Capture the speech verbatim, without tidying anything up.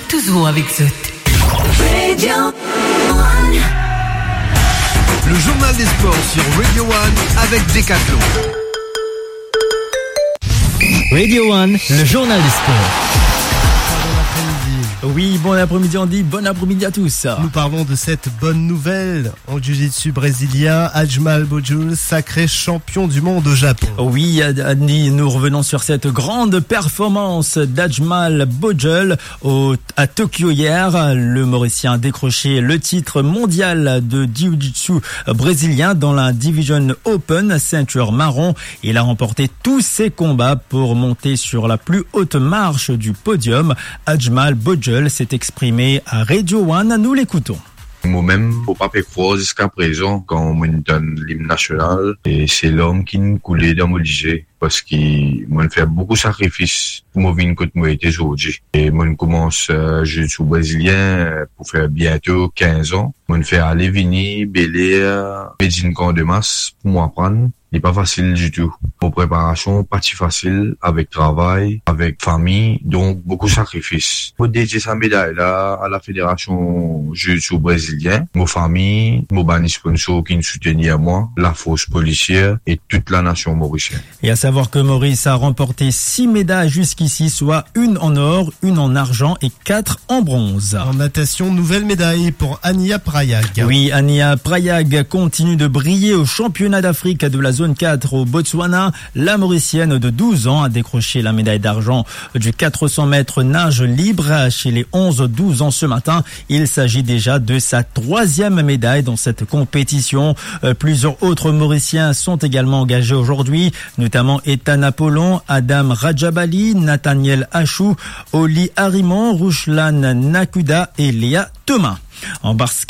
Toujours avec zot. Radio One. Le journal des sports sur Radio One avec Decathlon. Radio One, le journal des sports. Oui, bon après-midi Andy, bon après-midi à tous. Nous parlons de cette bonne nouvelle en jiu-jitsu brésilien, Ajmal Bojul, sacré champion du monde au Japon. Oui, Andy, nous revenons sur cette grande performance d'Ajmal Bojul au, à Tokyo hier. Le Mauricien a décroché le titre mondial de jiu-jitsu brésilien dans la Division Open, ceinture marron. Il a remporté tous ses combats pour monter sur la plus haute marche du podium. Ajmal Bojul s'est exprimé à Radio One. Nous l'écoutons. Momem, mo pa pe krwar ziska prezan kan mo'nn tann lim nasional, e se larm ki'nn koule dan mo lizie, parski mo'nn fer boukou sakrifis pou mo vinn kot mo ete zordi. E mo'nn koumans, eh, jiu-jitsu brésilien, eh, pou fer biento kinz an. Mo'nn fer ale vini, Bel Air, Medellin, Camp de Mars pou mo aprann. Li pa fasil ditou. Mo preparasion pa ti fasil, avek travay, avek fami, donk boukou sakrifis. Mo dedie sa meday la a la Fédération Jiu-Jitsu Brésilien, mo fami, mo bann sponsor ki'nn soutenir mwa, lafors polisier e tout lanasion morisienn. Et à savoir que Maurice a remporté six médailles jusqu'ici, soit une en or, une en argent et quatre en bronze. En natation, nouvelle médaille pour Ania Prayag. Oui, Ania Prayag continue de briller au championnat d'Afrique de la zone quatre au Botswana. La Mauricienne de douze ans a décroché la médaille d'argent du quatre cents mètres nage libre chez les onze douze ans ce matin. Il s'agit déjà de sa troisième médaille dans cette compétition. Euh, plusieurs autres Mauriciens sont également engagés aujourd'hui, notamment Ethan Apollon, Adam Rajabali, Nathaniel Achou, Oli Harimon, Ruslan Nakuda et Léa Thomas. En basket,